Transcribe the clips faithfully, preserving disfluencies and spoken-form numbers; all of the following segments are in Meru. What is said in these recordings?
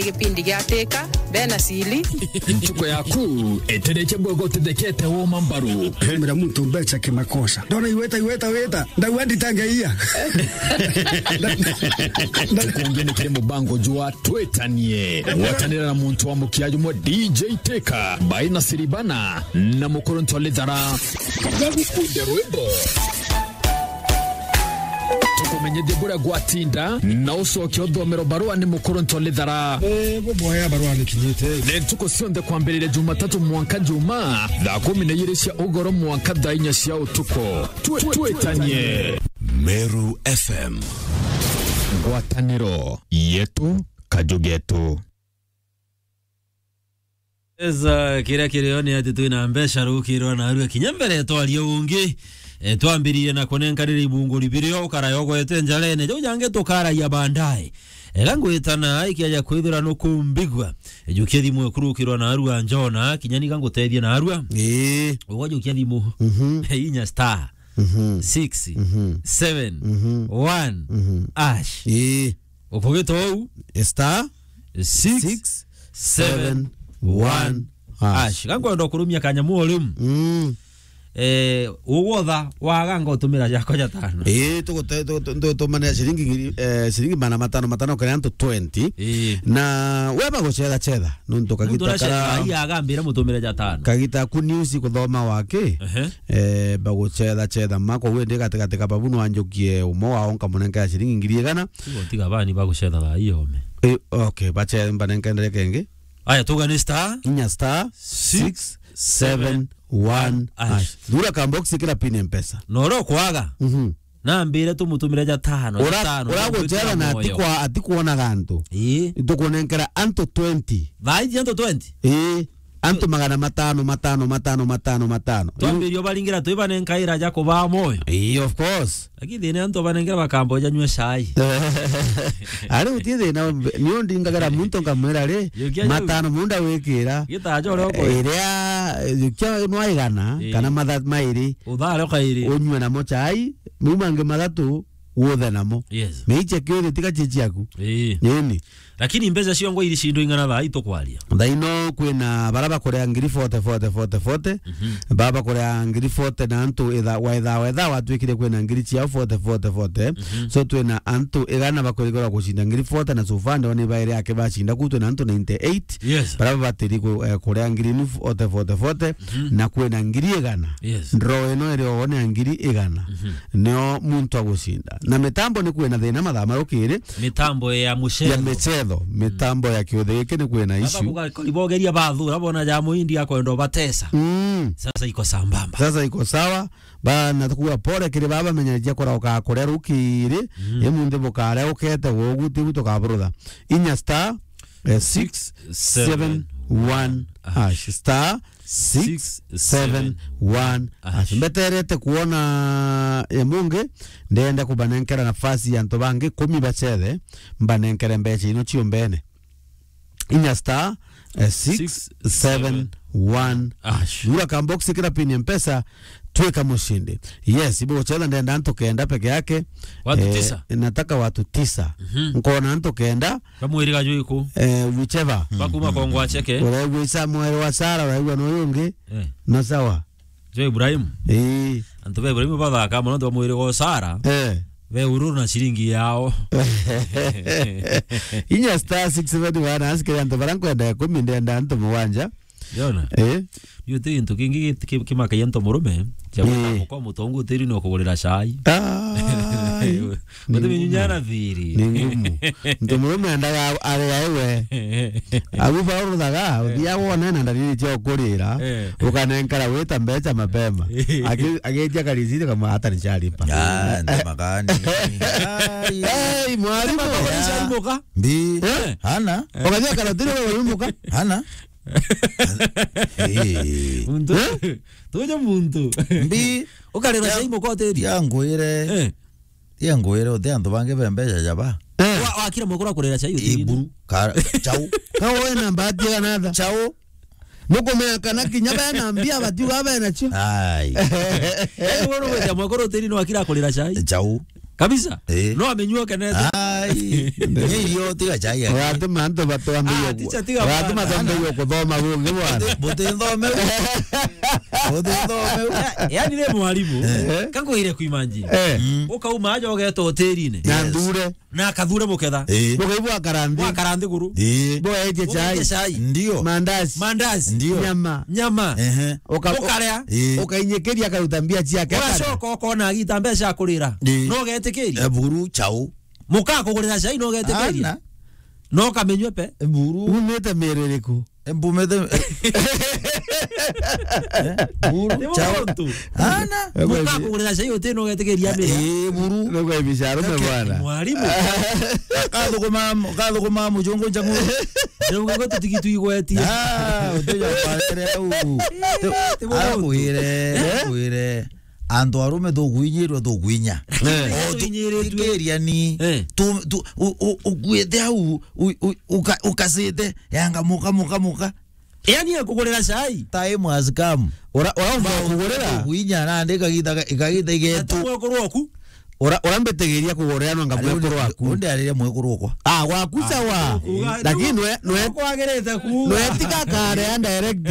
Gipindi gia Teka, bena sili. Ntuku yaku itereke bwega utithekete woma mbaru. Mira muntu mbecha kimakosa. Ndona iweta, iweta, weta. Ndauga nditangeia. Tukungi ni kiri mubango jwa Twitanie. Gwatanira na muntu wa mukia jumwe D J Teka, Baina Siribana, na Mukuru Ntolithara. Bagukunde rwimbo. Tukumenyithie buria gwatinda, na ucoke uthomero barua ni Mukuru Ntolithara. Eh, buboya barua ni kinyite. Ni ntuku cionthe kwambiriria Jumatatu mwanka Juma, thaa kumi na ijiri cia ugoro mwanka thaa inya cia utuku. Twi-, twitanie. Meru F M. Ngwataniro yetu, kaju getu. Eza, kiria kirio ni ati twina mbeca rukirwa narua kinya mbere twaria ungi. E, twambiririe na kunenkanira ibunguri birio ukarayo gwete njarene. Jau jangi tukaragia baadaye. Ega ngwitana ikiaja kwithira nukumbigua. Jukia thimu ekurukirwa narua njona, kinya niga ngutethie narua. Ii. Ugwa jukia thimu. Mhm. Inya star. Mhm. Six. Mhm. Seven. Mhm. One. Mhm. Ash. Ii. Ukugita ou? Star six seven one hash. Gankwenda kurumia kanyamu o riu. Mm. Eh, ugwotha waga ngotumira jakwa jatano. Ii, tugute-, tu-, tu-, tutumanira ciringi ngiri, eh, ciringi magana matano matano kiri antu twenty. Ii. Na we bagucetha cetha, nontu kagita kara-, ii, agambira mutumire jatano. Kagita ku news kuthoma waki. Ehe. Eh, bagucetha cetha ma, koguo ndi gatigati ka babu nwanjukie umwe wao nkamunenkera ciringi ngiri igana. Tiga, tiga bani bagucetha thaa iyo ome. Eh, okay, bache mbanenkendere kengi. Aya, tuga ni star inya star six seven one hash. Thura ka box kira pin Mpesa. Na uria ukwaga. Mhm. Nambire tumutumire jatano, ura-, jatano, uragucetha na ati kwa-, ati kuonaga antu. Ii. Tukunenkera antu twenty. Thaa iji antu twenty? Ii. Antu magana matano, matano, matano, matano, matano. Twambirio baringira twi banenkaira ja kubaa moyo. Ii, of course. Lakini thina antu banengira bakambo janyua cai. Ari uti thina, ni undingagira muntu nkamwira ri, yukia jau. Matano munda wikira. Gitajo rio kwe. Iria, yukia nwa igana, ii, kana matha mairi. Uthare kairi. Unyue namo cai, mau mangi mathatu, uthe namo. Yes. Meiche kiothe tiga cie ciaku. Ii. Nini? Lakini mbeca cio ngwa iri cindo ing'ana thaa itukwaria? Thaa ino kwina bara bakurea ngiri forty, forty, forty, forty. Mhm. Bara bakurea ngiri forty na antu itha-, wetha, wetha watwikire kwina ngiri ciao forty, forty, forty. Mhm. So twina antu igana bakwirigirwa gucinda ngiri forty na so far ndeo ni bairi ake bacinda ku twina antu ninety-eight. Yes. Bara babatiri ku-, eh, kurea ngiri nu forty, forty, forty. Mhm. Na kwina ngiri igana. Yes. Ndro ino iri o ni ya ngiri igana. Mhm. Nio muntu agucinda. Na mitambo ni kwina thina mathaa marukiri. Mitambo ya mucetho. Ya micetho, mitambo ya kiuthi giki ni kwina issue. Baba kuga-, koribogeria bathura bona ja muindi akwenda batesa. Mm. Sasa iko sambamba. Sasa iko sawa. Ba, na tukuga pole kiri baba menyereria kurauka kuria rukiri. Mm. Imunthi bukaria ukete gugu tibu tukaburutha. Inya star, eh, six seven one hash. Star six seven one hash. Mbeterete kuona, eh, mungi, ndenda kubanenkera nafasi ya antu bangi kumi bacethe, mbanenkere mbeca ino cio mbene. Inya star, eh, six seven one hash. Thura ka box kira pin ya Mpesa, twika mushindi. Yes, ibo gucetha ndenda antu kenda peke yake. Watu tisa. Nataka watu tisa. Mhm. Nkona antu kenda. Kamwiriga jwiku. Eh, whichever. Bakuma kongwa cheke. Uraigua Isa mwere wa Sara, uraigua na uyu ungi. Eh. Na sawa. Jo Ibrahim. Ii. Antu ba Ibrahim bathaka mono, antu ba mwiri go Sara. Eh. Be ururu na ciringi yao. Inya star six seven one, asikire antu bara nkwenda ikumi, ndenda antu mugwanja. Yona? Eh. Ni uti gintu kingi ki-, ki-, kimakagia antu murume, kia gwita mukwa mutongu utiri ni ukugurira cai. Ai. Ni ngumu. Ni ngumu. Muntu murume endaga ari aiwe. Abu bauruthaga, uthia wone na ndariri cia ukurira, eh, ukanenkara wita mbeca mapema. Aki-, agetia karisiti kama hata ni chalipa. Ah, ndio magani. Ai. Hey, mwalimu. Mbi. Eh? Hana? Ukathia karatiri wewe wimuka. Hana? Eh. Muntu. Eh? Tuja muntu. Mbi. Ukarira cai mukoteri. Ya ngwire. Eh. Tia ngwire, uti antu bangi be mbeca jaba. Eh. Wa-, wakira mwekura kurira cai utiri. Iburu, ka-, chau. Ka we na mbati ya natha. Chau. Nukumenya kana kinya bena mbia batiuga bena cio. Ai. Yaani wewe unakuja mwekura utiri ni wakira kurira cai. Chau. Kabisa. Eh. No amenyua kenete. Ai, nye irio tiga chai ya. Ugatuma antu batwambie Ah, ku-, ticha tiga ugatuma bwana. Twambie kuthoma bungi bwana. Buti nthome. Buti nthome. Ya-, yani ni mwarimu. Eh. Kakwire kuimagine. Eh. Mm. Ukauma aja ugeta hotelini. Na Yes. ndure. Na akathure muketha. Eh. Mukaigua akaranthi. Wa akaranthi guru. Eh. Bo eje chai. Ugetie chai. Ndio. Mandazi. Mandazi. Ndio. Nyama. Nyama. Ehe. Uka-, Ukaria. Eh. Ukainyikiria akaruta mbia ciake. Ugacoka ukona agita mbeca kurira. Eh. No getikiria. Eh, buru chau. Muka kugurira cai no getikiria. Ana. No kamenywe pe. Buru. Umite miri iriku? Mbumite. Eh? Buru. Ni chau. Muntu. Ana. Muka kugurira cai uti no getikiria miri. Eh, buru. Ndio kwa biashara Okay. bwana. Mwarimu. Kathuguma, kathuguma muchungu changu. Ndio kwa tutigitu igwetia. Ah, uteja kwa u. Ti-, ti muntu. Akwire, Eh? akwire. Antu arume tukuinyirwa tukuinya. Eh. O tu-, Tuinyiritwe. Tukiria ni. Eh. Tu, tu, u-, u-, ukuite au, u-, u-, uka-, ukasite, yanga muka, muka, muka. Yani akugurira cai. Time has come. Ura, ura umba kugurira. Tukuinya na ndika gita, ikagita igetu. Ati mwekuru waku. Ura, ura mbitigiria kugurira no ngamwekuru waku. Undi ariria mwekuru wakwa. Ah, waku sawa. Uga, Lakini nwe, nwe, kwagirite kuuga. Nwe tiga kare ya direct.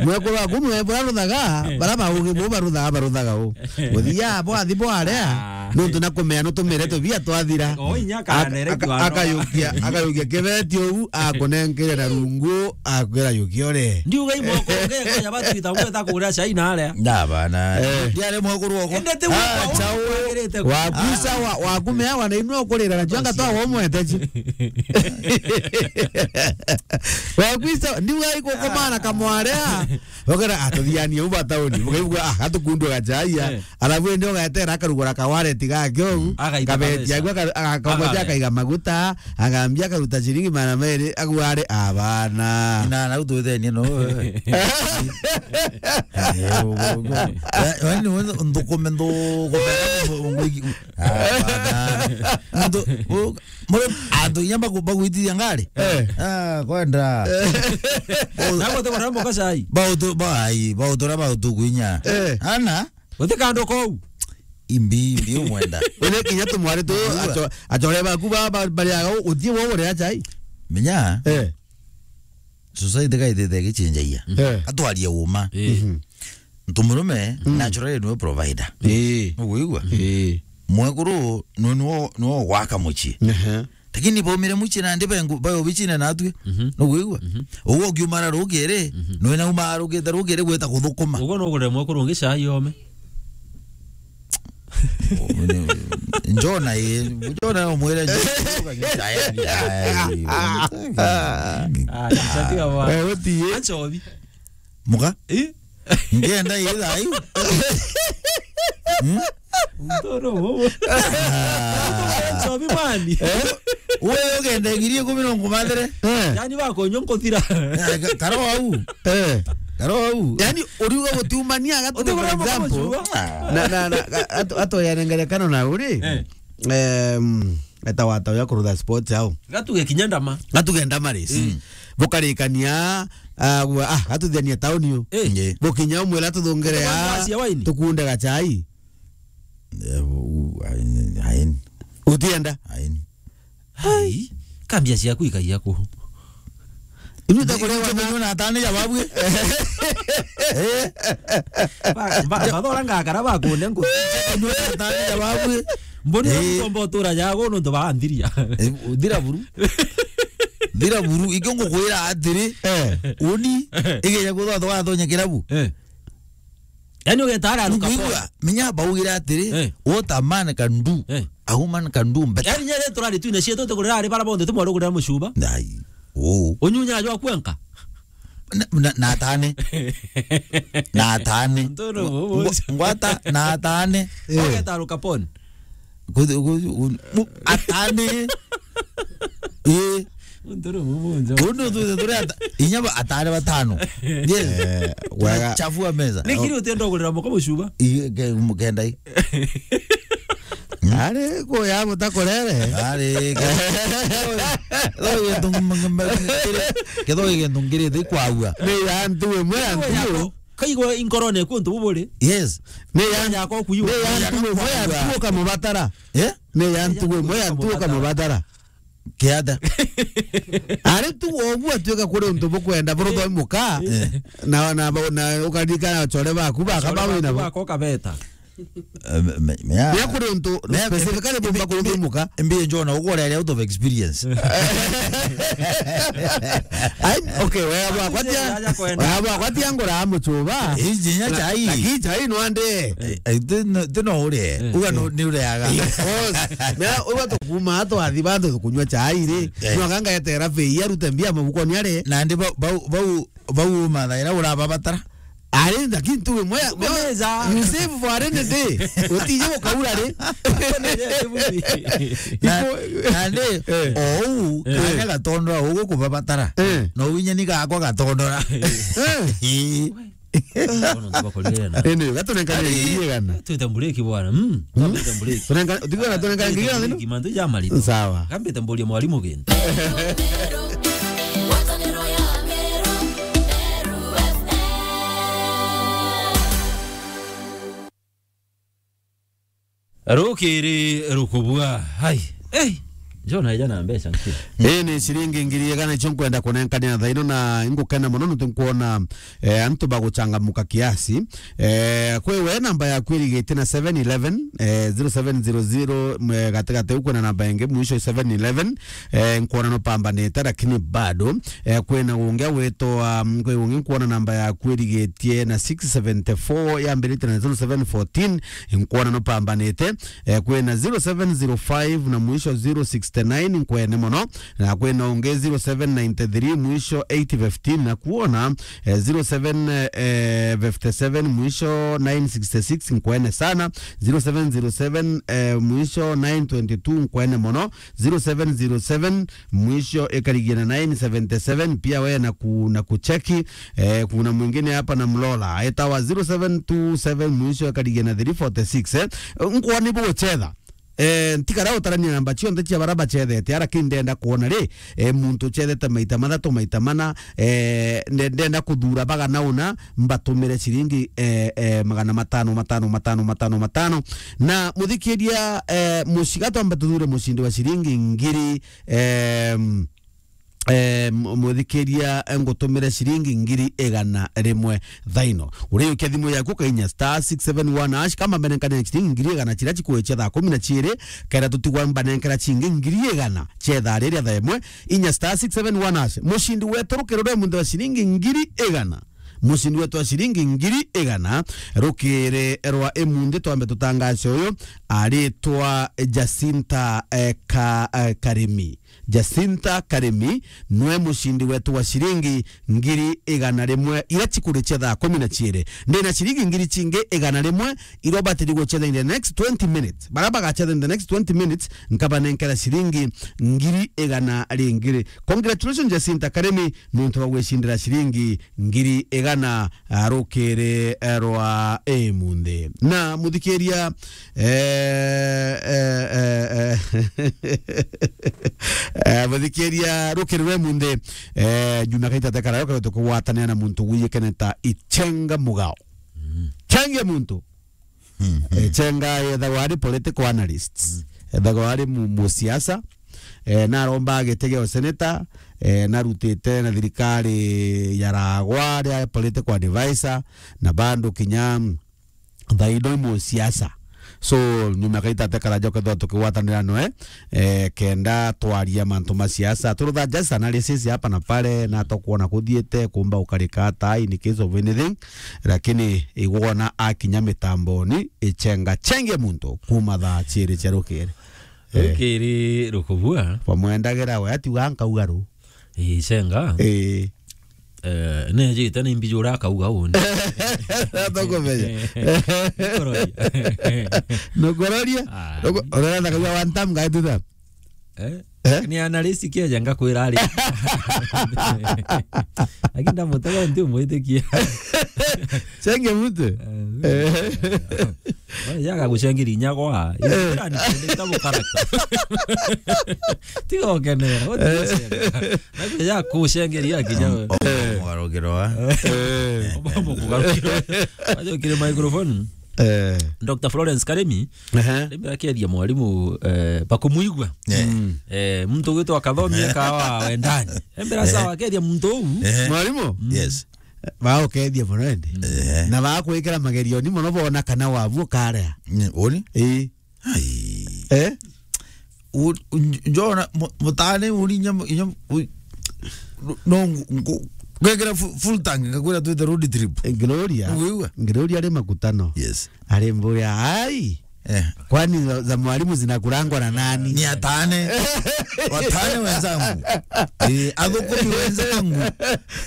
Mwekuru waku nwe bura ruthaga, Eh. bara baugi bo baruthaga, baruthaga u. Muthia bo athi bo aria, Ah. nontu na kumea no tumire tubia twathira. O inya kana Ak-, direct ak-, wa no. akayukia, akayukia kibeti u, akunenkere na rungu, akwira yukia ore. Ndiuga imoko nge kwa ya batu ita ngweta kugura cai na aria. Na bana. Eh. Ndiare mwekuru wakwa. Ende ti Ah, wako chao. kwagirite ku- Waku sawa, waku meawa na inwe ukurira na jwanga twa womwete ji. Waku sawa, ndiuga iko komana kamwarea. Ukera atuthianie uba tauni. Mukaigua ah atukundwa gachaia. Eh. Alafu ende ugaetera akarugura kawareti gake ugu. Agaita Kabeti kabesa. Agua akamoja Agare. Akaiga maguta. Agambia akaruta ciringi magana meri, agu ari abana. Na, na utwithenie no. Wani nthukume, nthukume. Abana. Antu, u-, muri, antu inya baku-, bagwitithia ngari. Eh. Ah, kwenda. Nabo te kora mboka cai. Bautu, bai, bautura bautu kwinya. Eh. Ana? Guti kandu kau. Imbi, imbi umwenda. Uria kinya tumwari tu, Uigua? acho-, achore baku ba, ba, bari aga, uthie wo uria chai. Menya, Eh. society gaitite gichenjagia. Eh. Atwarie uma. Eh. Mhm. Ntu murume, Mm. naturally niwe provider. Eh. Uguigua? Eh. Mwekuru, niwe, niwe, niwe gwaka mucii. Ehe. Lakini baumire mucii nandi bayo bichine natwi. Mhm. Nuguigua? Mhm. Uguo ukiumara rukiri, Mhm. nwe naumarukite rukiri gwita kuthukuma. Uguo nugurire mwekuru ungi cai ome. Njona i, njona umwire. Ah, chatiga wa. Eh, uti. Achobi. Muka? Eh? Ngenda ii thaa iu. Hmm? Ntoro bobo. Ah. Chobi mani. Eh? Uwe ugenda ngiri ikumi no nkumathire. Eh. Yani bakonyo nkuthira. Eh, ka-, karo au. Eh. Karo au. Yani, uriuga gutiumania gatu, Uti for example. Na, na, na, ga-, atu-, atoyane ngerekano na uri. Eh. Em, eta wata uya kurutha sports au. Gatuge kinya ndama. Gatuge ndama race. Mm. Bukarikania, ah, gwa, ah, gatuthania tauni u. Eh. Nge. Bukinya umwira tuthungire Tuthungire ya, cia waini. Tukunde gachai. Eh, u-, u-, aini, aini. Utienda? Aini. Hai. Kambia ciaku ikaia ku. Inyu takurewa na atani ya babwe. Ba, ba, bathora ngakara bakunde nku. Inyu atani ya babwe. Mboni Eh. Komba utura jago nontu baanthiria. Eh, thira buru. Thira buru, ikio ngukwira atiri, Eh. uni, igeja kuthwa thwa thonya kirabu. Eh. Yani ugeta ara aruka Niguigua, pole. Menya baugire atiri, Eh. what a man can do, Eh. a woman can do better. Yani nyere turari twine cietu tukurira ari bara bonthe tumwarugurira mucuba. Ndai. Oh. Unyunya jwa kwenka. Na, na, na atane. Na atane. Ntoro Ngwa-, bobo. Ngwata na atane. Eh. Ugeta aruka pole. Kuthi-, kuthi-, un-, mu-, atane. Eh. Ntoro bobo njo. Undu tu, tu, tu, ata-, inya ba-, atane batano. Yes. Eh, wega. Chafua meza. Nikiri utienda kugurira muka mucuba? Ii, ke-, mukenda ii. Ari kuya mutakorere. Ari, ke-, thogi gintu ng-, ng-, ng-, kiri, kithogi gintu ngirite ikwagua. Ni ya ntu imwe ya ntu. kaigwa inkorone kuntu buburi. Yes. Ne ya, yakwa kuiwa. Ne ya ntuwe mwe ya ntuwe kamubatara. Eh? Ne ya ntuwe mwe ya ntuwe kamubatara. Kiata. Ari tu ogu atuika kuri untu bukwenda buru thoi muka. Eh. Na, na, na ukarika na chore baku baka bawe na bako kabeta. Eh, me, me, ya. Ria kuri untu specifically bumba kuri thoi muka. Mbi njona ugore area out of experience. Ai, okay, wewe bwakwatia. Wewe bwakwatia ngora amuchuba. Iji nya chai. Lakini chai no ande. Eh, eh, ti no, ti no ure. Eh, uga no, eh, ni ureaga. Yes. Na uga tukuma twathi bantu tukunywa chai ri. Eh. No ganga etera fe ya rute mbia mabukoni are. Na ndi bau, bau, bau, bau mathaira urababatara. Ari, lakini tu we moya, moya. Kumeza. You save for a rainy day. Utije ukaura ri. Na, na ndi, eh, ou, eh, kanya gatondora, ugu kubabatara. Eh. No winya ni gakwa gatondora. Eh. Ii. Bono ntubakorire na. Ene, gatunenkane ngiri igana. Twite mbureki bwana. Mm. Twite mbureki. Tunenka, utigana tunenka ngiri igana. Mbureki, mantu jamarito. Sawa. Kambe tamburia mwalimu gintu. Rukiri rukubua. Hai. Ei. Jona eja na mbeca nkiri. Ii ni ciringi ngiri igana icio nkwenda kunenkania thaino, na ingukena mono nontu nkwona, eh, antu baguchangamuka kiasi. Eh, kwi we namba yaku irigitie na seven eleven, eh, zero seven zero zero, mwe gatigati u kwina namba ingi mwisho seven eleven, eh, nkwona no pambanite, lakini bado, eh, kwina ungi witwa, mm, kwi ungi nkwona namba yaku irigitie na six seventy-four yambiritie na zero seven fourteen, nkwona no pambanite. Eh, kwina zero seven zero five na mwisho zero sixty-nine, nkwene mono. Na kwina ungi zero seven ninety-three mwisho eight fifteen, na kuona, eh, zero seven, eh, fifty-seven mwisho nine sixty-six, nkwene sana. Zero seven zero seven, eh, mwisho nine twenty-two, nkwene mono. Zero seven zero seven mwisho ikarigia na nine seventy-seven, pia we na ku-, na kucheki. Eh, kuna mwingine hapa na mlola. Etawa zero seven two seven mwisho ikarigia na three forty-six, eh. Nkwona ni buguchetha. Eh, ntikara utarania namba cionthe cia bara bachethete, ara ki ndenda kuona ri, eh, muntu uchethete maita mathatu, maita mana, eh, nde-, ndenda kuthura bagana una, mbatumire ciringi, eh, eh, magana matano, matano, matano, matano, matano. Na muthikiria, eh, muciga twamba tuthure mucindi wa ciringi ngiri, em, eh, mu-, muthikiria, eh, ngutumire ciringi ngiri igana rimwe thaino. Uriukia thimu yaku kainya star six seven one hash, kama mbenenkania ciringi ngiri igana ciria cikwichia thaa kumi na ciiri, kenda tutigwa mbanenkera cingi ngiri igana cia ithaa riria thaa imwe, inya star six seven one hash. Mucindi wetu rukiri rwe munthe wa ciringi ngiri igana. Mucindi wetu wa ciringi ngiri igana rukiri rwa imunthi, twambe tutangace uyu, aritwa Jacinta, eh, Ka-, eh, Karimi. Jacinta Karimi nwe mucindi wetu wa ciringi ngiri igana rimwe iria cikurichia thaa kumi na ciiri. Ndina ciringi ngiri cingi igana rimwe iria ubatiri guchetha in the next twenty minutes. Bara bagachetha in the next twenty minutes, nkabanenkera ciringi ngiri igana ringi ri. Congratulations, Jacinta Karimi, nontu bwa gwicindira ciringi ngiri igana, ah, rukiri, eh, rwa imunthi. Na muthikiria, eh, eh, eh, eh, eh, muthikiria rukiri rwa imunthi, eh, nyuma kaita tekara yo tukugwatanira na muntu wiyikene ta Ichenga Mugao. Mm. Chengia muntu. Mm, mm. Eh, Chenga ethagwa ari political analyst. Mm. Ethagwa ari mu-, musiasa. Eh, naromba giti gia useneta, eh, narutite na thirikari ya Ragwa ria political advisor, na bado kinya thaino i musiasa. So, nyuma kaita tekara njoke thwa tukigwatanira noe, eh, kenda twaria mantu ma siasa. Turutha just analysis hapa na pale, na tokuona kuthiite, kumba ukarika ata, in case of anything. Lakini igwona akinya mitamboni, Ichenga Chengia muntu kuma thaa ciiri cia rukiri. Eh. Rukiri rukubua. Bamwendagira we atiuga nkauga ru. Ichenga. Eh. Eh, nejite ni mbijura akauga uni. Tokumenya. Nukororia. Nukororia? Ah. Nuku-, urenda kauga one time, gaituta? Eh? Eh? Ni analyst kieja ngakwira ari. Lakini ndamutega nti umwitikia. Chenge mtu. Eh, yaga gucengeri inya gwa. Eh. Ira ni kitabu character. Tiga ukenera. Nakuja kucengeri akinya. Mugarukiro wa. Eh. Mugarukiro. Ajo kire microphone. Eh. Doctor Florence Karemi, ehe, rĩu akeethia mwarimu, eh, bakũmwigua. Eh. Mm. Eh, muntu ugwitwa Kathomi, ehe, ekawa wendani. Embera, ehe, sawa, akeethia muntu uu. Ehe. Mwarimu? Mm. Yes. Baũkeethia mono ende. Ehe. Na bakwikira magerioni mono bona kana wabu ukarea. Mm, uni? Ii. Ai. Eh? U-, u-, njona mu-, mutane uri inya mu-, inya mu-, u-, no ngu-, ngu-, ngekira fu-, full tank, ngakwira twite road trip. Eh, Gloria. Niguigua? Gloria ari makutano. Yes. Ari mbuya, ai. Eh. Kwani za, za mwalimu zinakurangwa na nani? Ni atane. Watane wenzangu. Eh, athukumi wenzangu.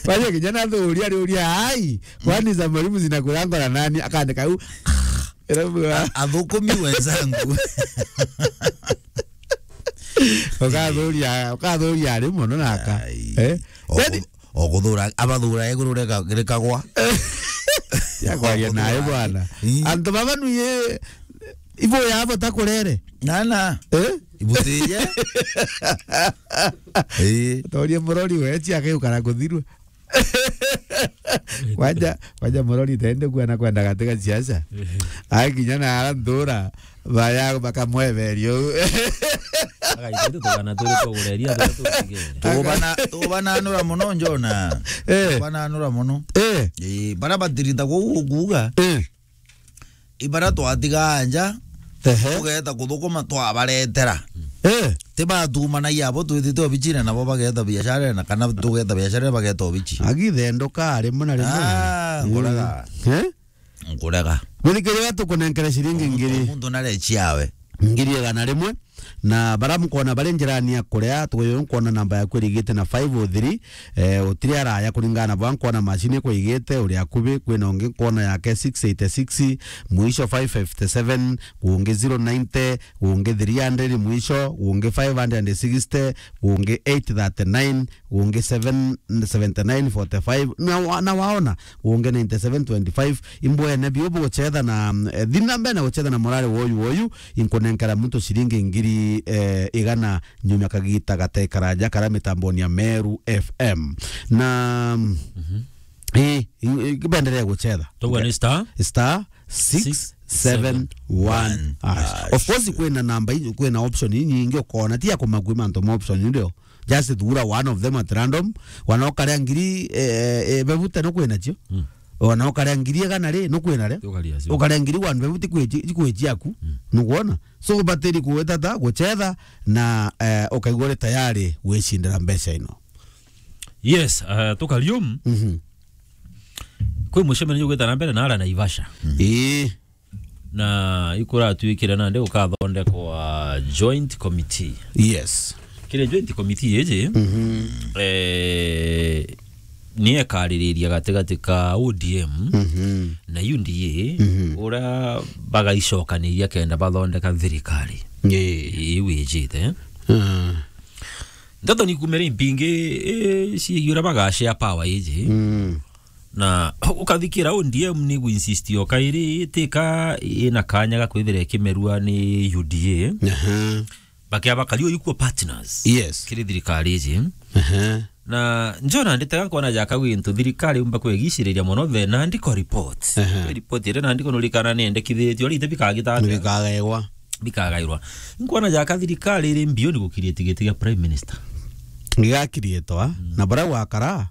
Kwani kijana athuria ari uria, ai. Kwani za mwalimu zinakurangwa na nani? Akaandika u. Irabu. A-, athukumi wenzangu. Ukathuria, ukathuria ari mono naka. Ai. Eh? O ku-, o kuthura, abathura iguru rika-, rikagwa. Ya kwaria nayo bwana. Ii. Antu baba nuye ibo yabo takurere. Nana. Eh? Ibutiye. Ii. Toria murori we, chi akayukara kuthirwa. Kwanja, kwanja murori tende kuona kwenda katika siasa. Akinya na ara nthura, baya bakamweberia u. Agaitete tugana turi tugureria, turi tutigere. Tubana, tubananura mono njona. Eh. Tubananura mono. Eh. Eh, bara batirita kuuga. Eh. Ibara twatigaa nja, ehe, tugeeta kuthukuma twabaretera. Eh. Ti batumanagia abo twitite obichine nabo bageeta biashara na kana tugeeta biashara bageeta obichi. Agithenduka rimwe na rimwe. Ah, mm, nkurega. Eh? Nkurega. Muthikiriria tukunenkere ciringi ngiri. Muntu narechiawe. Ngiri igana rimwe. Na bara mkona bari njirani ya kuria, tuyo nkwona namba yaku irigite na five oh three, eh, utiri araya kuringana na bwa nkwona machine kwa igite, uri akubi, kwina ungi nkwona yake six eighty-six, mwisho five fifty-seven, ungi zero ninety, ungi three hundred mwisho, ungi five hundred sixty, ungi eight thirty-nine, ungi seven, seventy-nine forty-five, na wa-, na waona, ungi ninety-seven twenty-five, imbwene biu buguchetha na, mm, eh, thina mbere na guchetha na morare woyu woyu, inkunenkera muntu ciringi ngiri, eh, igana nyuma kagita gate karaja kara mitamboni ya Meru F M. Na, mm, mhm, eh, i-, i-, kibenderea guchetha. Tugwa ni star? Star six seven one hash. Hash. Of course, kwina namba i-, kwina option inyingi ukona, ti ya kumakua mantu ma option ndio. Just thura one of them at random. Wana ukarea ngiri, eh, eh, bebute no kwina cio. Mm. Wana ukarea ngiri igana ri, no kwina ri. Ukaria cio. Ukarea ngiri one bebute kwi-, kwi ciaku. Mm. Nukwona? So, batiri kuwetata, guchetha, na, eh, ukaigua uri tayari gwicindira mbeca ino. Yes, eh, tukarium. Mhm. Kwi mucemanio ugwita na mbere na ara Naivasha. Mm. Ii. Na ikuratuikire nandi gukathondekwa joint committee. Yes. Kiri joint committee iji, mhm, eh, ni ekaririria gatigati ka O D M, mhm, na U D A, mhm, uria bagaicokaniria kenda bathondeka thirikari. Ii. Iu ijite. Ah. Ndeto ni kumere impingi, eh, ciigi uria bagashare power iji. Mm. Na ukathikira O D M ni guinsist o kairi itika ina kanya ga kwithira ikimerua ni U D A. Aha. Bakia bakari o equal partners. Yes. Kiri thirikari iji. Aha. Na njona nditega nkona jaka gwintu thirikari umba kwegiciriria mono the Nandiko report. Aha. Report iria Nandiko nurikana niendekithiritio ari ite bikagita atia? Bikagairwa. Bikagairwa. Nkona jaka thirikari iri mbioni gukiria tigiti gia prime minister. Gigakirietwa, mm, na bara gwakara,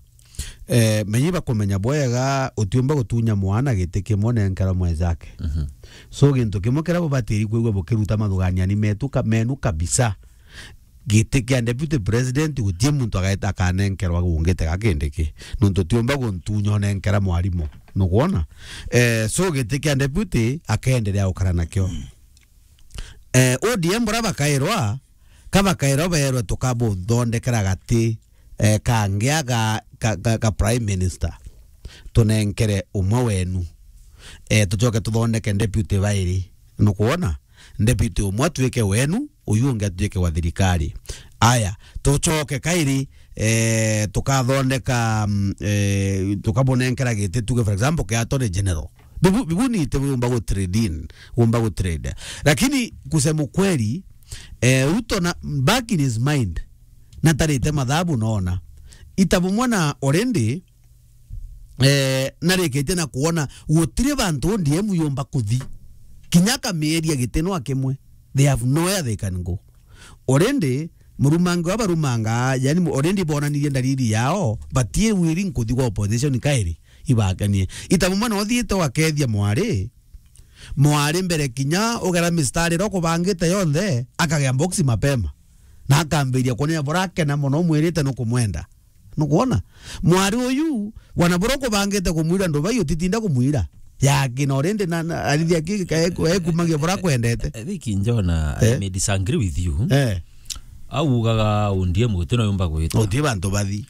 eh, menyi bakumenya bwega utiumba gutunya mwana giti kimwe nenkerwa mwenzake. Mhm. So, gintu kimwe kiria bubatiri kwigua bukiruta mathuganiani metu ka-, menu kabisa, giti kia deputy president gutie muntu agaeta akanenkerwa gungite gakindiki. Nuntu tiumba guntunya unenkera mwarimu. Nukwona? Eh, so giti kia deputy akeendelea gukara nakio. Eh, O D M bura bakairwa, ka bakairwa beerwe tukabuthondekera gati, eh, kangia ga, ga, ga, ga prime minister. Tunenkere umwe wenu. Eh, tucoke tuthondeke deputy bairi. Nukwona? Deputy umwe atuike wenu, uyu ungi atuike wa thirikari. Aya, tucoke kairi, eh, tukathondeka, mm, eh, tukamunenkera giti, tuge, for example, kia Attorney General. Bibu, bibu ni ite biumba gu trade in, umba gu trade. Lakini kusema ukweli, eh, Ruto na, back in his mind, natarite mathabu, nona ita bumwe na already, eh, narikitie na kuona gutiri bantu O D M yumba kuthi. Kinya akamieria giti no kimwe. They have nowhere they can go. Already, murumangi wa barumanga, yani, mu-, already bonanirie ndariri yao, batie willing kuthi gwa opposition kairi, ibakanie. Ita bumwe no thiite wakethia mwari, mwari mbere kinya ugera mistari ro kubangite yonthe, akagea box mapema. Na akambiria kunia burakena mono, mwirite no kumwenda. Nukwona? Mwari uyu, wana bura kubangite kumwira ndubai, utitinda kumwira. Yakina already na, na, arithi aki, ka-, eku-, ekumagia bura kwendete. I think Njona, I Eh? may disagree with you. Eh. Au ugaga O D M guti no yumba gwita. Uti bantu bathi.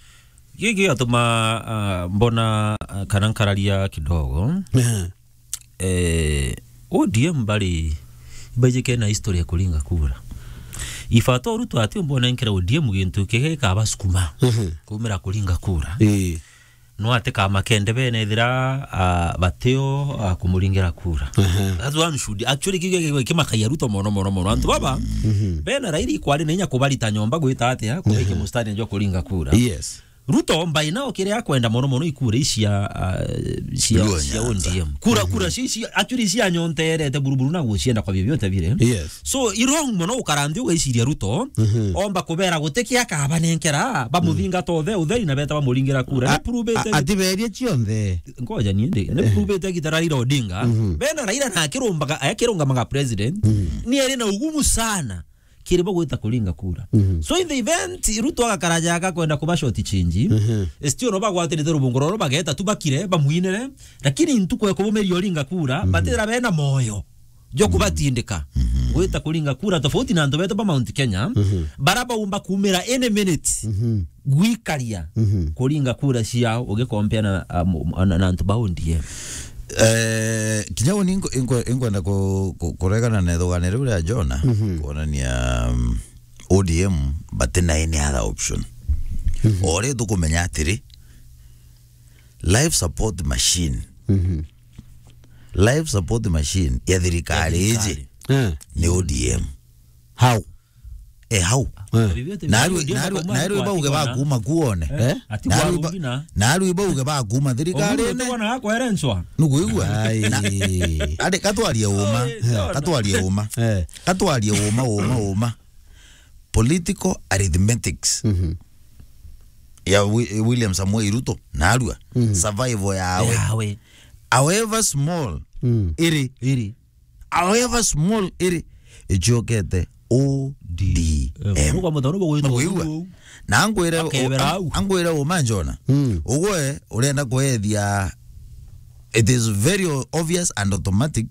Giki gatuma, ah, mbona, ah, kana nkararia kidogo. Eh. Eh, O D M bari, baijike na history ya kuringa kura. Ifato Ruto ati umbonenkera O D M gintu kigekaba sukuma Mhm. kumira kuringa kura. Ii. No ati kama kende bene ethira, ah, batio, ah, kumuringira kura. Aha. That's one should actually kige kimakaia Ruto mono, mono, mono. Antu baba, Mhm. bena Raila ikwari na inya kubarita nyomba gwita atia, kubaike Mhm. mustari njo kuringa kura. Yes. Ruto by now kiria akwenda mono mono ikura ici cia, ah, cia, Luo cia Nyanza. O D M. Kura, kura, Mhm. ci, ci, actually cia nyonterete buruburu na gucienda kwa vyovyote vile. Yes. So, i wrong mono ukaranthi ugaiciria Ruto, Mhm. omba kubera guti kia akabanenkera, bamuthingata Mhm. uthe-, utheri na beta bamuringira kura. A-, Ni prove a-, ati berie cionthe. Ngoja niende. Ni Eh. prove ite gita Raila Odinga. Mhm. Bena Raila na akirumbaga, akirungamaga president. Mhm. Ni eri na ugumu sana kiri bo gwita kuringa kura. Mhm. So in the event, Ruto agakara jaga kwenda kuba short change, Mhm. still no bagwatirite rubungo roro bageta tu bakire, bamwinire, lakini ntuku ya kubumeria uringa kura, Mhm. batira bena moyo jo Mhm. kubatindika Mhm. gwita kuringa kura, tofauti na antu betu ba Mount Kenya, Mhm. bara baumba kumira any minute Mhm. gwikaria Mhm. kuringa kura ciao ugikompea na, um, na, na antu ba O D M. Eh, kinya uni inko-, inko-, inkwenda ku-, ku-, kuregana na ithugania riu ria Jona, Mhm. kuonania, um, O D M bati na any other option. Mhm. O ri tukumenya atiri, life support machine. Mhm. Life support machine ya thirikari Ya iji thirikari. Eh. ni O D M. How? Eh, hau. Eh. Vyovyote vile Narua, O D M narua, akauma narua ariko bauge atigona. Bakuma kuone. Eh? Eh? Ati Narua kwa ba-, Rubina. Narua bauge bakuma thirikari Oguo ene. Tubona akwere ncwa. Nukuigua? Ai. Na, ati katwarie uma. Oh, eh, Jona. Katwarie uma. Eh. Katwarie uma, uma, uma. Political arithmetics. Mhm. Ya Wi-, William Samoei Ruto, narua. Mhm. Survival yawe. Yawe. However small, Mm. iri. Iri. However small iri, icokete O D M. Eh, nuka mutano bo gwitwa Nukwigua? Uu. Na angwire, Akebera au. Angwire uma Jona. Mm. Ugwe urenda kwethia, it is very obvious and automatic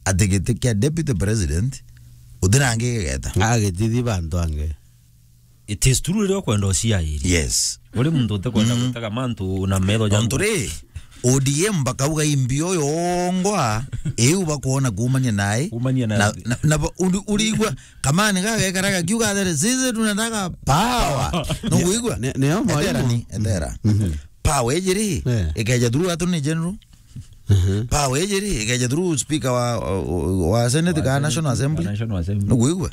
ati giti kia deputy president uti na angi gigeta. Agitithi bantu ange. It is true riria ukwenda uciairi. Yes. Uri muntu utikwenda Mm. gutega mantu na metho jaku. Nontu ri, O D M bakauga imbi uyu ongwa, iu bakwona kuumania nae. Kuumania na Na, na, na ba-, uri-, urigua, kamani gagekara gakiuga atiri, "Sisi tunataka power." Power. Nukwigua? Ne-, neo mwalimu. Etera ni, etera. Mhm. Power iji ri, Eh. ikeja through Attorney General. Mhm. Power iji ri, ikeja through speaker wa, wa, wa Senate Wa kana Senate, National Assembly. National Assembly. Nukwigua?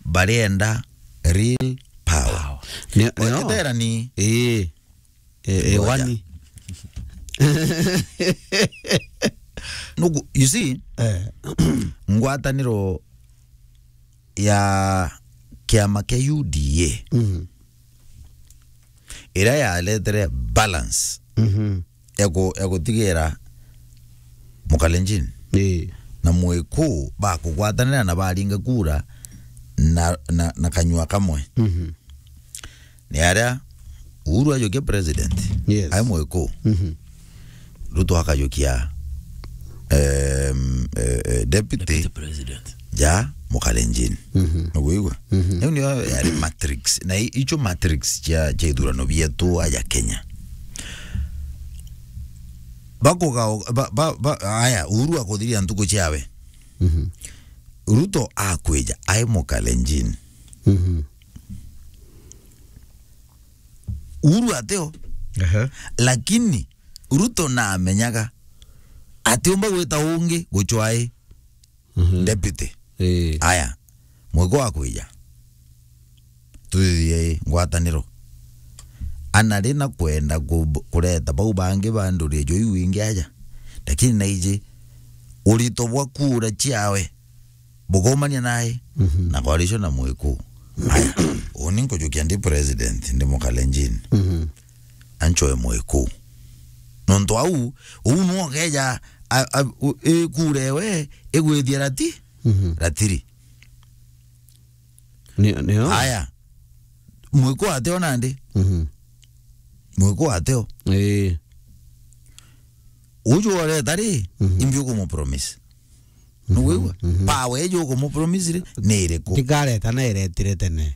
Barienda real power. Power. Ni, ni Etera ni. Ii. E, e, Ngoja. Wani. Nuku, you see, Eh. ngwataniro ya kiama kia U D A Mm. iria yaretere balance Mhm. ya ku-, ya gutigira Mukalenjin Ii. na Mwiku bakugwatanira na baringa kura na, na, na kanyua kamwe. Mhm. Ni aria Uhuru ajukia president, Yes. ai Mwiku, Mhm. Ruto akajukia, em, eh, eh, deputy Deputy president. ja Mukalenjin. Mhm. Nukwigua? Mhm. Riu niyo yari matrix. Na i-, icio matrix cia, cia ithurano bietu aja Kenya. Bakugao-, ba, ba, ba, aya, Uhuru akuthiria ntuku ciawe. Mhm. Ruto akwija, ai Mukalenjin. Mhm. Uhuru ateo. Ehe. Lakini Ruto namenyaga atiumba gwita ungi gucwai Mhm. deputy. Ii. Aya, Mwiko akwija. Tuthithie ngwataniro. Ana ri na kwenda ku-, kureta bau bangi ba nduri jo iu ingi aja. Lakini naiji urito bwa kura ciawe bukomania nae Mhm. na coalition na Mwiku. Aya, uni nkujukia ndi president, ndi Mukalenjin. Mhm. Anchoe Mwiku. Nontu au, uu nwo keja, a, a, u-, i kura ewe igwithia rati? Mhm. Ratiri. Ni, nio? Aya. Mwiku ateo nandi? Mhm. Mwiku ateo? Ii. Uju oreta ri, Mhm. imbi ukumu promise. Mhm. Nuwigua? Mhm. Power iju ukumu promise ri, ni iriku? Tikareta na iretire tene.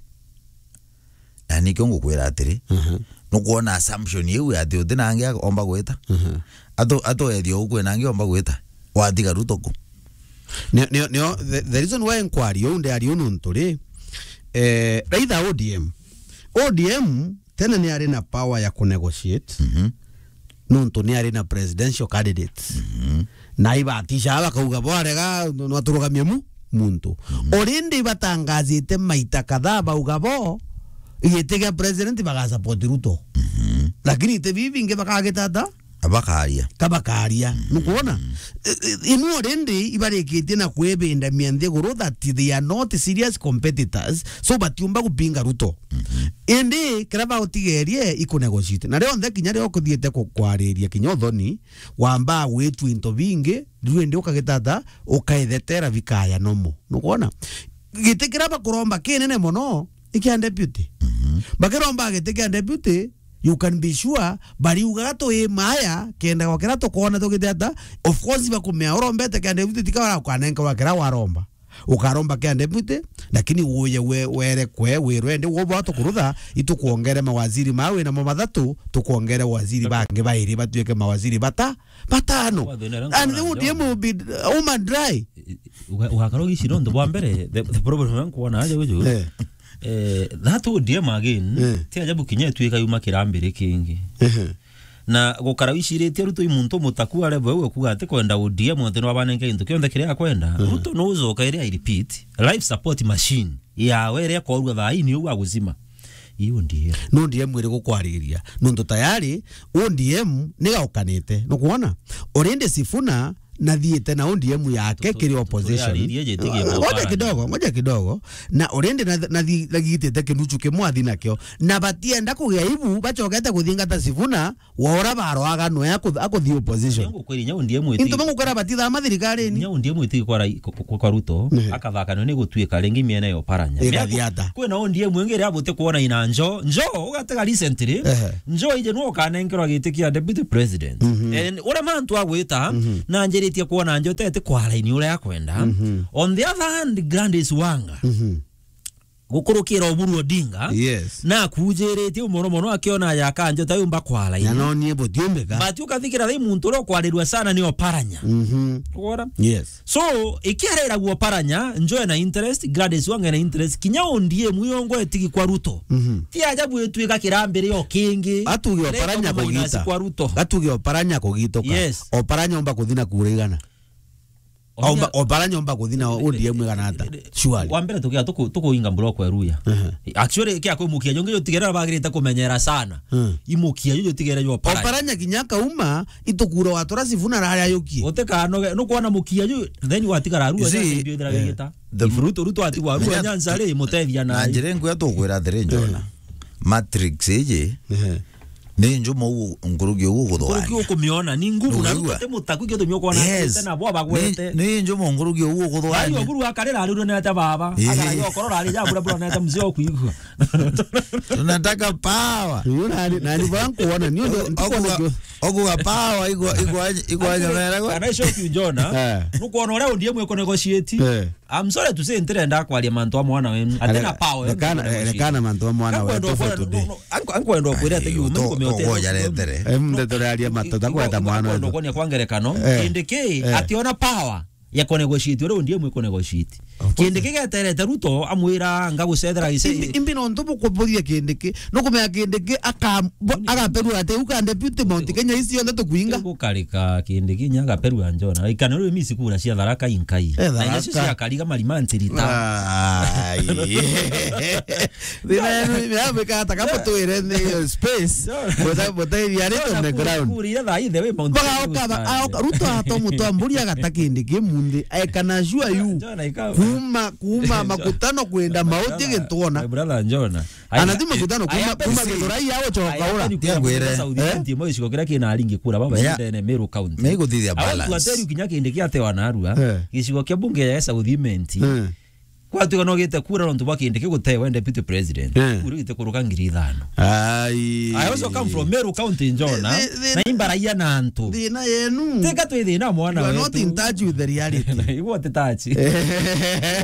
Na nikio ngukwira atiri, Mhm. nukwona assumption iu ati uti nangi omba gwita? Mhm. Atu, atu ethio ukwe nangi omba gwita? Watiga Ruto ku? Nio, nio, nio, the, the reason why nkwari uu ndiari uu nontu ri, eh, raitha O D M. O D M tene ni ari na power ya ku negotiate, Mhm. nontu ni ari na presidential candidates. Mhm. Na ibatisha bakauga, "Bwarega, no aturugamie mu, muntu." Mhm. Already batangazite maita kadhaa bauga bo, giti gia president baga support Ruto. Mhm. Lakini iti bibi bingi bakagita ata? Abakaria. Kabakaria. Mhm. Nukwona? I-, i-, inu already ibarikitie na kwibindamia nthiguru that they are not serious competitors, so batiumba gupinga Ruto. Mhm. Indi kiria bautigerie iku negotiate. Na rionthe kinya rio kuthiite ku-, kwariria kinya uthoni, wamba gwitua into bingi, riu indi ukagitata, ukaithetera bikaya nomo. Nukwona? Giti kiria bakuromba kinene mono, i kia deputy. Mhm. Bakiromba giti kia deputy, you can be sure, bariugaga twi maya, kenda gwakira tukona tugite ata. Of course, bakumea urombete kia deputy, tika bara ukanenkerwa kiria waromba. Ukaromba kia deputy, lakini uye we, were kwe, wirwe ndi, wo bwa tukurutha, itukwongere mawaziri ma wina mo mathatu, tukwongere waziri bangi bairi batuike mawaziri bata, batano. Wathina ira And nkuona O D M will be, uh, home and dry. Uga-, ugakara ugici nontu bwa mbere, the, the problem ya nkuona aja guju. Eh. Eh, that O D M again, Eh. ti ajabu kinya ituika yuma kirambiri kingi. Ehe. Na gukara wiciritie Ruto i muntu mutaku a level iu ekuga ati kwenda O D M ati no abanenge gintu kionthe kiria akwenda. Ehe. Ruto no ucoka iria, I repeat, life support machine yawe iria ikorua thaa ii ni uu aguzima. Ii O D M. No O D M iri gukwariria. Nontu tayari O D M ni gaukanite. Nukwona? Already Sifuna nathiite na O D M yake kiri opposition. Ngoja kidogo, ngoja kidogo. Na already na, nathi-, nathitite kinuchu kimwe athi nakio. Na batienda kugia ibu, bacokete kuthingata Sifuna, wa ura baroaga nwe aku-, akuthi opposition. Into bangukira batithama thirikarini. Nya O D M itigi kwa rai-, kwa, kwa, kwa Ruto, Ehe. akathakanio ni gutuika ringi miena ya Oparanya. Igathi ata? Kwina O D M ingi iria buti kuona ina njo, njo, ugatega recently. Ehe. Njo ije nwe ukanenkerwa giti kia deputy president. Mhm. And uria mantu agwita, Mhm. na njiritie kuona njo tete kwa line uria akwenda. Mhm. On the other hand, Gladys Wanga, Mhm. gukurukira Oburu Odinga, Yes. na akujiritie mono mono akiona ya kanjo ta yumba kwa line. Na no nie butiumbika. But ukathikira ri muntu uria ukwarirua sana ni Oparanya. Mhm. Ugora? Yes. So, ikiareragua Oparanya, njo ena interest, Gladys Wanga ena interest, kinya O D M iyongo etigi kwa Ruto. Mhm. Ti ajabu ituika kirambiri o kingi. Atuge Oparanya kugita. Kwa Ruto. Atuge Oparanya kugituka. Yes. Oparanya omba kuthina kura igana. Omba, Oparanya omba kuthina O D M igana ata? Surely. Wa mbere tukia tuku-, tukuinga block ya Ruya. Ehe. Actually, kia kwimukia jongi jutigere bagirite kumenyera sana. Hmm. Imukia ju jutigere jo Oparanya. Oparanya kinya kauma, itukura watura Sifuna rari ayukie. Utikanoge, nukwona mukia ju, then watigara Ruya, You see, ndio ithira eh, gigita. The Ruto, Ruto atigwa Ruya, Nyanza ri, mutethia na na njira nguya tukwira atiri, Njona. Eh. Matrix iji, Ehe. ni njumo u-, nkuruki uguo guthwani. Nkuruki ukumiona, ni nguvu na Nugwigua? Ruto te mutaku kio tumio kwona Yes. tena bo bagwete. Ni, ni njumo nkuruki uguo guthwani. Ayo buru akarira ruru nete baba. Ehe. Akara yo korora ari ja bura bura nete mzee okuigua. Tunataka power. Uyu nani, nani bora nkuona, ni undu Oguga, oguga power igwa, igwa, igwa nyamera gwa. Kana show you Njona. Eh. Nukwona uria O D M iko negotiate. Eh. I'm sorry to say, ntirenda kwaria mantu a mwana wenu. Atena power, Rekana, rekana mantu a mwana wetu for today. Ankwenda kwira ati yuma kumeote. Em, nde turaria matu, takweta mwana wetu. Kwa ngerekano, Eh. Kindiki, Eh. ationa power ya kunegotiate, uria O D M iko negotiate. Kindiki geterete Ruto amwira, "Ngagucethera gicii." Imbi, imbi nontu bukuburia Kindiki, nukumenya Kindiki aka-, bo-, agaperua ati, "U ka deputy Mount Kenya ici cionthe tukuinga." Gukarika Kindiki nya agaperua Njona. Ikana riu misi kura cia Tharaka inkai. Eh, na icio Tharaka. Cia Kariga marima ntirita. Ai. Thina yenu ni ya gwika ata kama twire ni space. Njona. Buta-, buta iriarite on the ground. Kura iria thaa ithe wi Mount Kenya. Baga oka, ba-, aoka, Ruto ato mutu amburi agata Kindiki munthi. I can assure you. Njona ika- Kuma, kuma makutano kwenda mauti gintwona. My brother Njona. Anathi makutano kuma, kuma Githurai ya gucoka ura. Tia ngwire. South Imenti, mo gicigo kiria kina aringi kura baba ndene Meru County. Me guthithia balance. Au tuateru kinya Kindiki atewa narua. Eh. Gicigo kia bunge ya South Imenti. Eh. Kwatuika no gite kura nontu bwa Kindiki gutewa deputy president. Eh. Kura gite kuruka ngiri ithano. Ai. I also come from Meru County, Njona. Thi-, thi-, na imbaraia na antu. Thina yenu. Teka twi thina mwana wetu. You are not in touch with the reality. Igwe uti touch. Igwe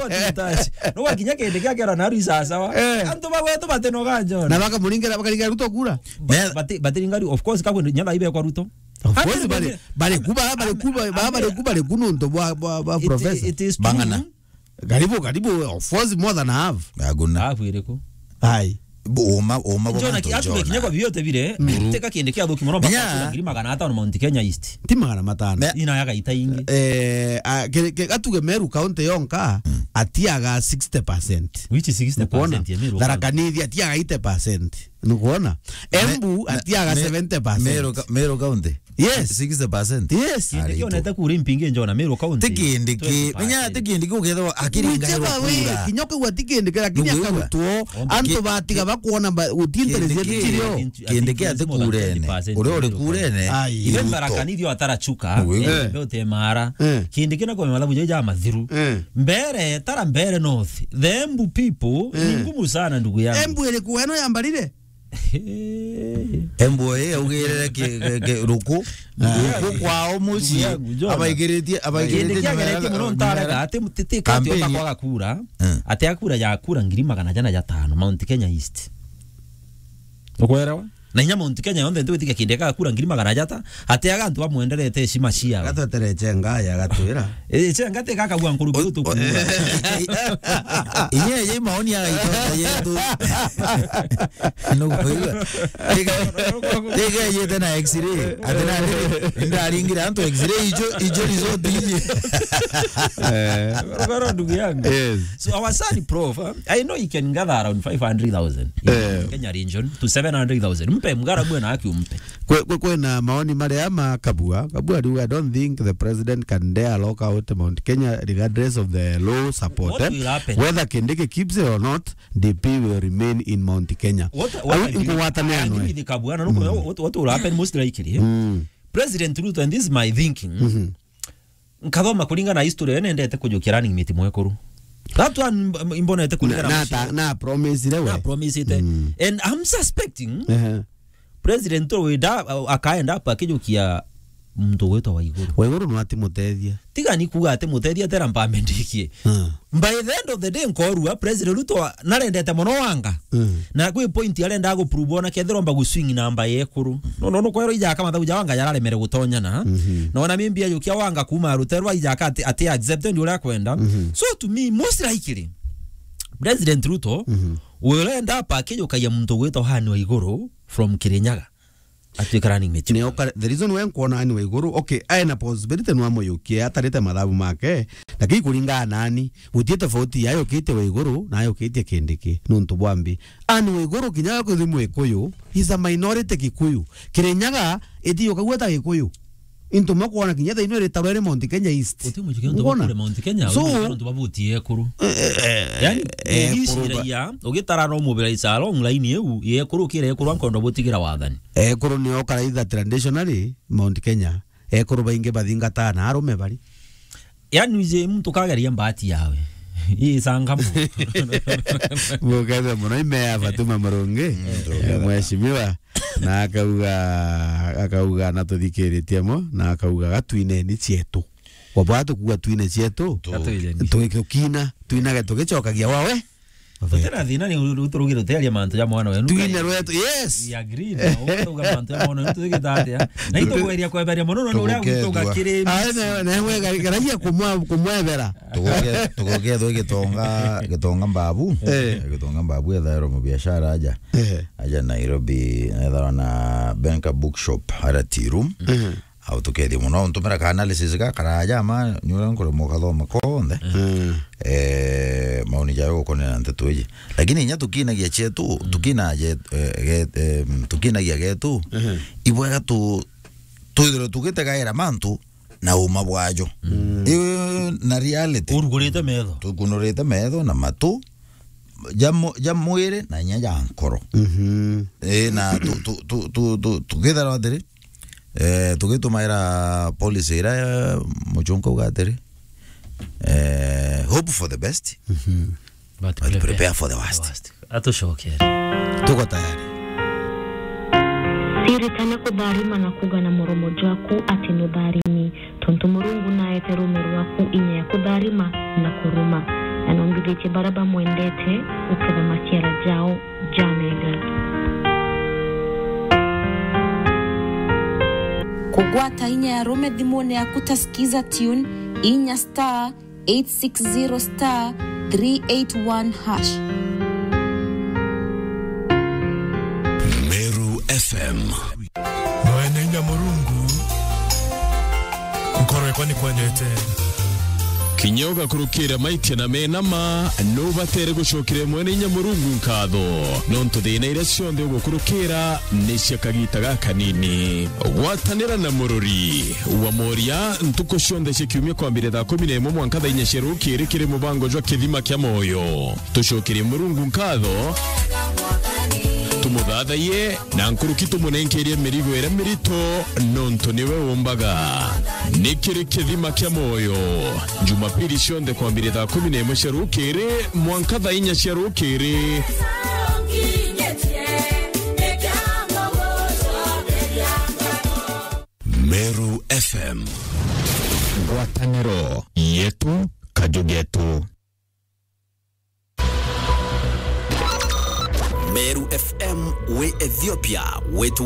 uti touch. No wakinya Kindiki akera naru isasawa. Eh. Antu bagwetu batinoga, Njona. Na bakamuringera, bakaringa Ruto kura. Ba-, bati-, batiringa Ru-, of course, kabwe nyana ibe kwa Ruto. Of course, bari, bari kuba, bari kuba, ba-, bari kuba, bari kununtu bwa, bwa, bwa professor. It is true. Bang'ana. Karibu, karibu, of course, more than half. Aguna. Half iriku? Ai. Bo-, uma, uma bo Njona bantu ki-, atuge Njona. Kinya kwa vyote vile, mm, teka Kindiki athuki mono mpaka ngiri magana atano Mount Kenya East. Ti magana matano. Me- Ina ya gaita ingi. Eh, a, ke, ke, atuge Meru County yonka, mm, atiaga sixty percent. Which is sixty percent ya Meru County. Tharaka Nithi atiaga eighty percent. Nukwona? Me-, Embu me-, atiaga me-, seventy percent. Meru ka-, Meru County? Yes. Sixty percent? Yes. Kindiki onete kura impingi Njona Meru County. Ti Kindiki. Twenty percent. Menya ti Kindiki ukethirwa akiringa Meru kura. Whichever way, kinya ukauga ti Kindiki, lakini akarutwo, antu batiga bakwona ba-, guti interest yetu cirio. Kindiki ati kurene. Uria uri kurene. Ai. Ibe Tharaka Nithi atarachuka. Uguo. Eh. Be utemara. Eh. Kindiki na kwa mathabu ja mathiru. Eh. Mbere, tara mbere North. The Embu people, eh, ni ngumu sana, ndugu yangu. Embu iriku eno yambarire? Embu ii augirire ki-, ki-, ki-, ruku. Ruku kwao mucii. Ndugu yangu, Njona. Abaigiritie, abaigiritie Kindiki ageretie muno ntarega, ati, ti, ti, ati kampeni. Ati akura, eh, ati akura ya kura ngiri magana jana ja tano, Mount Kenya East. Ukwerewa? Na inya Mount Kenya yonthe ntiwitikia Kindiki akura ngiri magana jata, ati aga antu bamwenderete heshima ciao. Gatwetere Chenga ya gatwira. Eh, Chenga ti gakagua nkuruki gutu kuura. Inya ye maoni ya gaito yetu. No kuigua. Tiga, tiga yete na X-ray. Ati na ndaringire antu X-ray ijo, ijo result iji. Eh. Goro ndugu yangu. Yes. So our son Prof, eh, I know he can gather around five hundred thousand in, eh, Kenya region to seven hundred thousand. Mpe mgara mwe na aki umpe. Kwe, kwe, kwena maoni maria ma Kabua. Kabua riu, I don't think the president can dare lock out Mount Kenya regardless of the low support, what, eh, will happen? Whether Kindiki keeps it or not, D P will remain in Mount Kenya. What, what I believe, I agree with Kabua, na nuko, mm, what, what will happen most likely, eh? Mm. President Ruto, and this is my thinking, mm-hmm, nkathoma kuringana na history, yo nendete kujukia running mate mwekuru. That one mb-, mbonete kuringana na, na, na promise-ire we. Na promise-ite. Mm. And I'm suspecting, ehe, President Ruto wenda, akaenda apa akijukia muntu gwitwa Waiguru. Waiguru no atimutethia. Tiga ni kuga atimutethia, tera mpambe ndikie. Mm. By the end of the day, nkorua, President Ruto narendete mono Wanga. Mm. Na kwi point arenda guprove ona kethirwa mba guswing namba ya ekuru. No, no, no, kwero ija kama thauja Wanga yararemere gutonyana. Mhm. Na ona maybe ajukia Wanga kuma ruterwa ija aka ati, ati accept ndi uria akwenda. Mhm. So to me, most likely, President Ruto, mhm, will end up akijukagia muntu gwitwa Anne Waiguru from Kirinyaga. Atuike running mate. Nio ka-, the reason we nkwona Anne Waiguru, okay, ae na possibility no amuyukie, atarite mathabu make, lakini kuringana nani, gutie tofauti ya ayukitie Waiguru na ayukitie Kindiki, nuntu bwa mbi. Anne Waiguru kinya we kwithirwa Mwikuyu, he's a minority Gikuyu. Kirinyaga itiukagua ta Gikuyu. Into makwona kinya thaino iritarwa iri Mount Kenya East. Uti mujukio ntu bakure Mount Kenya, so, ntu babuti ekuru. Eh, eh, eh, yani, eh, ugiciragia, ugitara no mobilize along line iu, ye ekuru kire ekuru ankondo butigira wathani. Ekuru nio karaitha traditionally Mount Kenya. Ekuru baingi bathingataa na arume bari. Yani, uje muntu kageria mbati yawe. Ii sangamo. Mukethe muno, ime ya Fatuma Murungi. Mm, eh, mheshimiwa. Na akauga, akauga, na tuthikiritie mo, na akauga, "Gatwineni cietu." Kwa bwa tukuga twine cietu, tu-, tukina, twinage tugicokagia wawe. Tutira thina ni uturugire utearia mantu ja mwana wenu. Twine rwetu, yes. We agree, na uga mantu ja mwana wenu, tugita atia? Na itukugeria kweberia mono, no, uria gwituga kiri. Ah, na, na we gari-, garagia kumwe-, kumwebera. Tugoke, tugoke thwe Gitonga, Gitonga Mbabu. Eh. Gitonga Mbabu ethairwo mubiashara aja. Eh. Aja Nairobi, ethairwo na Benka Bookshop, ara tea room. Mhm. Au tukethia mono, ntumira ka analysis ga karaja ma, ni uria nkuremwa ukathoma konthe. Mm. Eh, maoni jawe gukonera nteto iji. Lakini inya tukinagia chetu, tukinagia, eh, ge-, eh, tukinagia getu, ibwega tu, twithirwe tugitegaira mantu na uma bwajo. Mm. Iu na reality. Urugurite metho. Tukunurite metho na matu, ja mu-, ja mwiri na inya ja nkoro. Mhm. Eh, na tu, tu, tu, tu, tu, tukithirwa atiri, eh, tugitumaira policy iria muchunka uga atiri, eh, hope for the best, mhm, but but prepare, prepare for the worst. Atucokere. Tuko tayari. Siritana kutharima na kuga na muromo jwaku ati nutharimi, tontu Murungu naete ruume rwaku inya ya kutharima na kuruma, na nombithitie baria bamwendete guketha maciara jao jamega. Kugwata inya ya ruume thimune yaku ta Skiza Tune, inya star eight six zero star three eight one hash. Meru F M. Mwene inya Murungu, nkoro yakwa ni kwendete. Kinya ugakurukira maitia na mena ma, nubatere gucokera Mwene inya Murungu nkatho, nontu thina iria cionthe ugukurukira ni cia kagita gakanini. Gwatanira na murori wa moria ntuku cionthe cia kiumia kwambire thaa kumi na imwe mwanka thaa inya cia rukiri kiri mubango jwa Kithima kia Moyo. Tucokerie Murungu nkatho, tumuthathaiye, na nkuruki tumunenkerie mirigo iria mirito, nontu niwe umbaga. Ni kiri Kithima kia Moyo, Jumapili cionthe kwambire thaa kumi na imwe cia rukiri mwanka thaa inya cia rukiri. Meru F M. Ngwataniro yetu, kaju getu. Meru F M wi Ethiopia, wetu